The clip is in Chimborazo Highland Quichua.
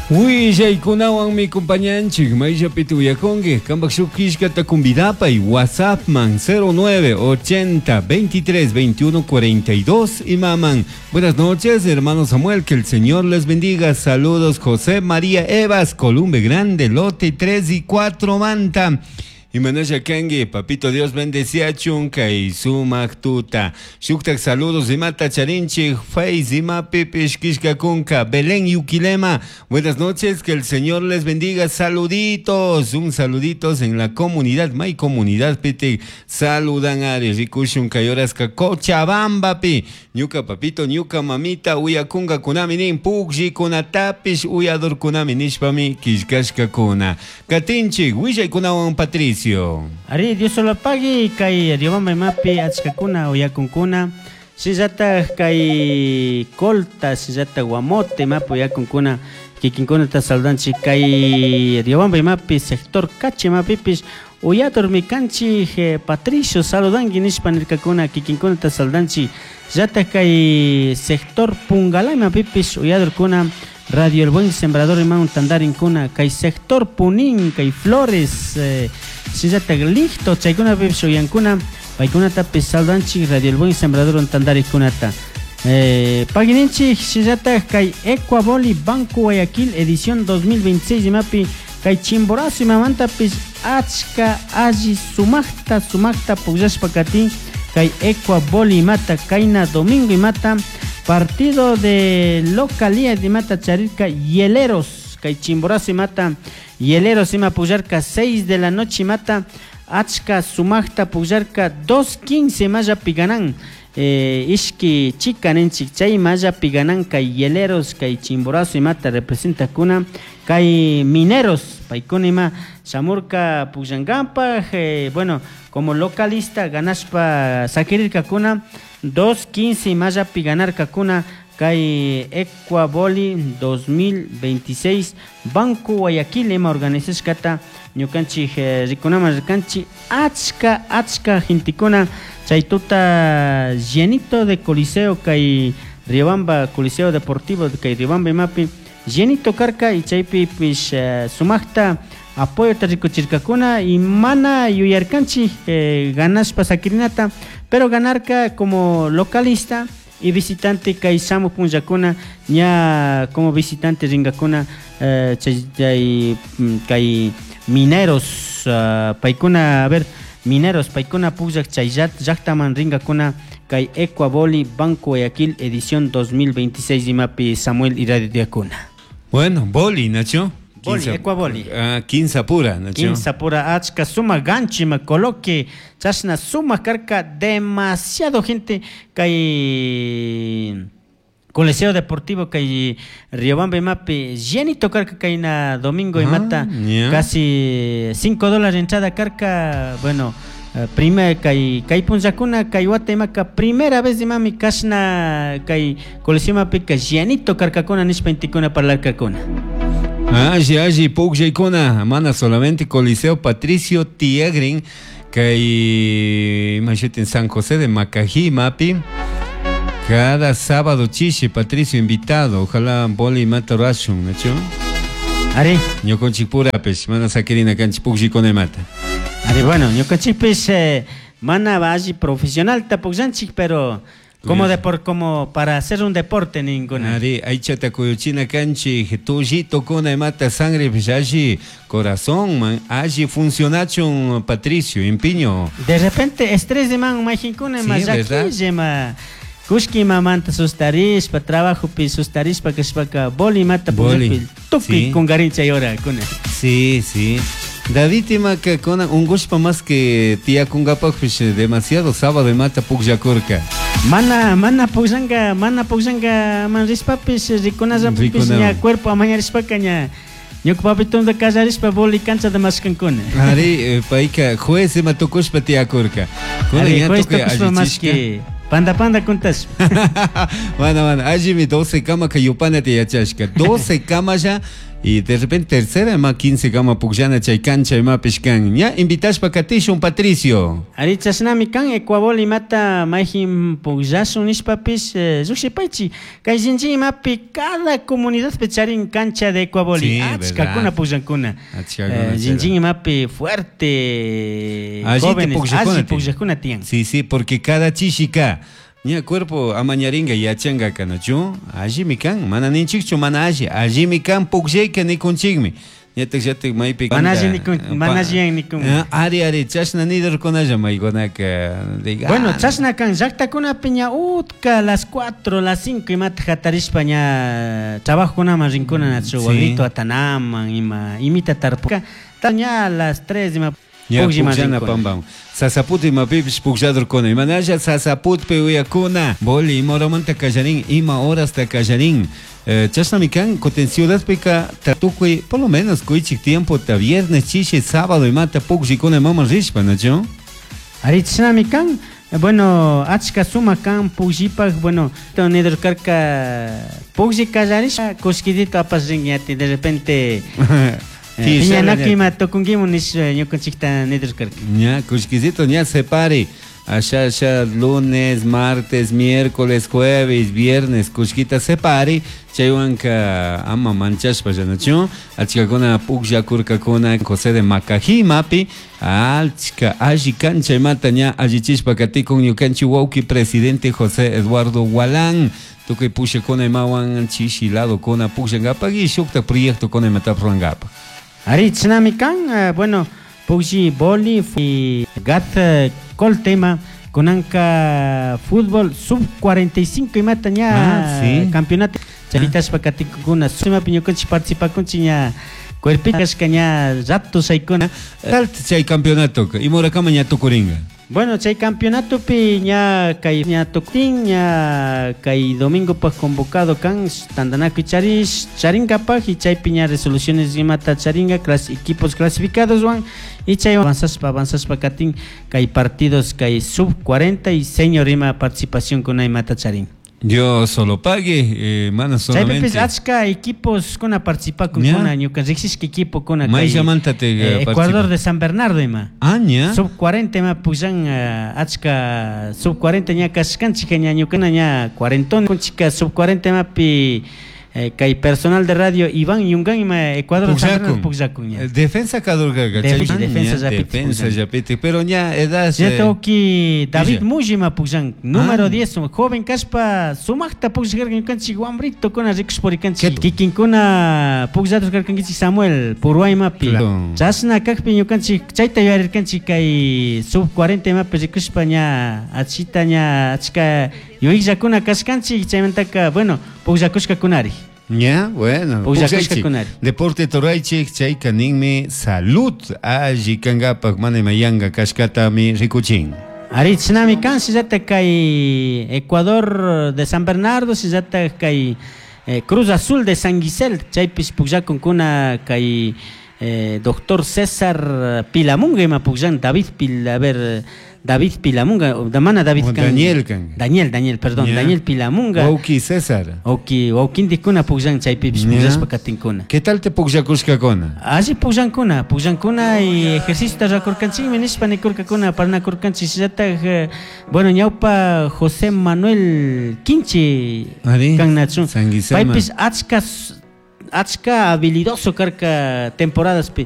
Willaykunawanmi compañanchik mayllapita uyakunki qampak shuk killkata convidapay WhatsAppman 09 80 23 21 42 imaman. Buenas noches, hermano Samuel, que el Señor les bendiga. Saludos, José María Evas, Columbe Grande, lote 3 y 4 Manta. Imanasha kanki, papito Dios bendeciachun kay sumak tuta. Shuktak saludos imata charinchik, Face imapipish kishkakunka, Belén Yuquilema. Buenas noches, que el Señor les bendiga. Saluditos, un saluditos en la comunidad, may comunidad piti. Saludan ari, rikushun kay horaska Cochabamba pi. Ñuka papito, ñuka mamita, uyakunga kunami nin, pukllikunatapish uyadurkunami nishpami killkashkakuna. Katinchik, willaykunawan Patricio. Ari, Dios solo pagui, kay Riobamba imapi achkakuna uyakunkuna. Shinllatak kay Colta, shinllatak Guamote imapi uyakunkuna, kikinkunata saludanchik kay Riobamba imapi sector Cachi imapipish uyadurmi kanchik, Patricio saludanki nishpa nirkakuna, kikinkunata saludanchik. Llatak kay sector Pungalá imapipish uyadurkuna, Radio El Buen Sembrador imawan tantarinkuna, kay sector Punín, kay Flores, shinllatak Licto, chaykunapipish uyankuna, paykunatapish saludanchik Radio El Buen Sembrador tantarikunata. Pagininchik shinllatak kay Ecuaboli Banco Guayaquil edición 2026 imapi kay Chimborazo imamantapish achka alli sumakta sumakta pukllashpa katin kay Ecuaboli imata kayna domingo imata partido de localía imata charirka Hieleros kay Chimborazo imata Hieleros ima pukllarka 6 de la noche imata achka sumakta pukllarka 2:15 mallapi ganan. Ishki chika ninchik chay mallapi ganan kay Hieleros kay Chimborazo imata representakuna kay Mineros paykuna ima shamurka pukllankampaj, bueno, como localista ganashpa sakirirkakuna 2:15 mallapi ganarkakuna kay Ecuaboli 2026 Banco Guayaquil ima organizashkata ñukanchik, rikunaman rikanchik achka achka gentekuna chay tuta llenito de Coliseo kay Riobamba Coliseo Deportivo kay Riobamba imapi llenito karka y chaypipish, sumakta apoyota rikuchirkakuna y mana yuyarkanchik, ganashpa sakirinata, pero ganarka como localista y visitante kay shamuj punllakuna ña como visitante rinkakuna, chay, chay, kay Mineros, paykuna, a ver, Mineros paykuna pukllak chay llaktaman rinkakuna kay Ecuaboli Banco Guayaquil edición 2026 imapi Samuel y Radio Diacuna. Bueno, boli, Nacho. Boli, Quinza, Ecuaboli. Ah, quinza pura, Nacho. Quinza pura, achka suma ganchi ma coloque, chashna suma karka demasiado gente kay Coliseo Deportivo kay Riobamba imapi llenito karka kayna domingo Ah, imata, ya. casi cinco dólares entrada karka, bueno, primer kay, kay punllakuna kay wata imaka primera vez imami kashna kay Coliseo imapi ka llenito karkakuna nishpa intikuna parlarkakuna. Alli, alli, pukllaykuna, mana solamente Coliseo Patricio Tiegrin kay imashutin San José de Macají mapi. Cada sábado chishi Patricio invitado, ojalá boli mata rashun, ¿nacho? Ari. Ñukanchik purapis, mana sakirina kanchik pukllikuna imata. Ari, bueno, ñukanchikpis, mana alli profesional ta pukllanchik, pero como como para hacer un deporte ninguna. Ari, aychata kuyuchina kanchik, tullito kuna imata sangre pis alli corazón, man, alli funcionachun Patricio, empiño. De repente estrés de man, majinkuna, Sí, ma ¿verdad? llaquille, ma. Kushki mamanta sustarishpa, trabajo pi sustarishpa, kashpaka, boli mata Boli. pullakpi, tukuy Sí. kungarincha yora, kuna. Sí, sí. David imaka kuna ungushpa más que tía kungapakpish demasiado sábado imata pukllakurka. Mana, mana pukllanka, mana pukllanka man rishpapish, rikunallapish, Rikuna. ña cuerpo amañarishpaka ña ñuka papitonta kallarishpa boli cancha de mashkankuna. Ari, payka juez ima tukushpa tiyakurka. Kuna Ari, ña juez tukuy tukushpa más allichishka. que panda panda kuntash. Bueno, bueno, allimi 12 kama ka yupana tiyachashka. 12 kama ya Y de repente tercera ima 15 kama pukllana chay cancha imapish kan. Ña invitashpa katishun Patricio. Ari chashnami kan Ecuabol imata mayjin pukllashun nishpapish llukshipaychi kay shinchi imapi cada comunidadpi charin cancha de Ecuaboli Sí, achkakuna verdad. pukllankuna. Achkakuna Shinchi imapi fuerte Allita jóvenes pukllakuna alli tiyan. pukllakuna tiyan. Sí, sí, porque cada chishika ña cuerpo amañaringa yachanga kanachu allimi kan mana ninchikchu mana alli allimi kan pukllayka nikunchikmi ñatak llatak maypi Mana alli nikun- mana alliyan nikun. Ari ari chashna nidurkunalla maykunaka diga, Bueno, ah, chashna kan llaqtakunapi ña utka las 4, las 5 imata hatarishpa ña trabajokunaman rinkuna nachu Sí. wagrito atanaman ima imita tarpuka ta ña las 3 ima ña puklliman pukllana rinkuna. pampan sasaput imapipish puklladurkuna imanalla sasaputpi uyakuna boli ima horamanta kallarin ima horasta kallarin. Chashnami kan kutin ciudadpika tukuy por lo menos kuychik tiempo ta viernes chishi sábado imata pukllikuna imaman rishpa nachu. Ari chashnami kan bueno achka sumak kan pukllipaj bueno nidurkarka puklli kallarishpa kushkitito apash rinki ñati de repente piñanakuy ima tukunkimun nish ñukanchikta nidurkarka. Ña, kushkisito ña separi. Allá, allá, lunes, martes, miércoles, jueves, viernes, kushkita separi. Chaywanka ama manchashpa llanachu. Achkakuna pukllakurkakuna José de Macají mapi. Achka alli kancha imata ña allichishpa katikun ñukanchik wawki presidente José Eduardo Gualán. Tukuy pushakuna imawan chishi ladokuna pukllankapak y shukta proyectokuna imatapas rurankapak. Ari chashnami kan bueno puklli boli y gat colta ima kunanka fútbol sub 45 imata ña Ah, sí. campeonato charitashpa katikukuna imapi ñukanchik participakunchik ña cuerpito kashka ña rato shaykuna. Tal chay campeonato ima horakama ña tukurinka. Bueno, chay campeonatopi ña kay ña tuktin ña kay domingo paj convocado kan tantanakuy charish charinkapaj y chaypi ña resoluciones imata charinka equipos clasificados wan y chay avanzashpa avanzashpa katin kay partidos kay sub 40 y senior ima participación kuna imata charin. Dios solo pague, mana solamente. Chaypipis achka equipos kuna participakun kuna ñuka riqsishka equipo kuna kay, Mayllamanta te, Ecuador participa? de San Bernardo ima. Ah, ña. Sub 40 ima pukllan, achka sub 40 ña kashkanchik ña ñukana ña cuarentón kunchika sub 40 imapi, kay personal de radio Iván Yungan ima Ecuador de San Bernardo Pukllakun. pukllakun ña. Defensa kadurkaqa, chay- Defensa ña, llapiti defensa pukllan. llapiti, pero ña edad, Ya tengo que David Villa. Muji ima pukllan, número Ah. 10, joven kashpa sumaqta pukllarqa ñukanchik wambrito kuna rikush purikanchik. ¿Qué? Kikinkuna pukllatur karkankichik Samuel Purwa imapi. Claro. Chashna kaqpi ñukanchik chayta yuyarirkanchik kay sub 40 imapi rikushpa ña achita ña achka yuyaqllakuna kashkanchik chaymantaka bueno pukllakushkakunari. Ña, bueno, Pukllakushka pukllaychik. kunari. Deporte toraychik chayka ninmi salud alli kankapak mana imayanga kashkatami rikuchin. Ari chinami kan sillata kay Ecuador de San Bernardo sillata kay Cruz Azul de San Gisel chaypis pukllakunkuna kay doctor César Pilamunga ima pukllan David Pil, a ver, David Pilamunga, o mana David O kan. Daniel kan. Daniel, Daniel, perdón, Ya. Daniel Pilamunga. Wawki César. Oki, wawkintikkuna pukllan chaypipis Ya. pukllashpa katinkuna. ¿Qué tal te pukllakushkakuna? Alli pukllankuna, pukllankuna y ejercicio rakurkanchikmi nishpa nikurkakuna parnakurkanchik shinallatak, bueno, ñawpa José Manuel Quinche Ari, kan nachun. San Guillermo. Paypis achka achka habilidoso karka temporadaspi.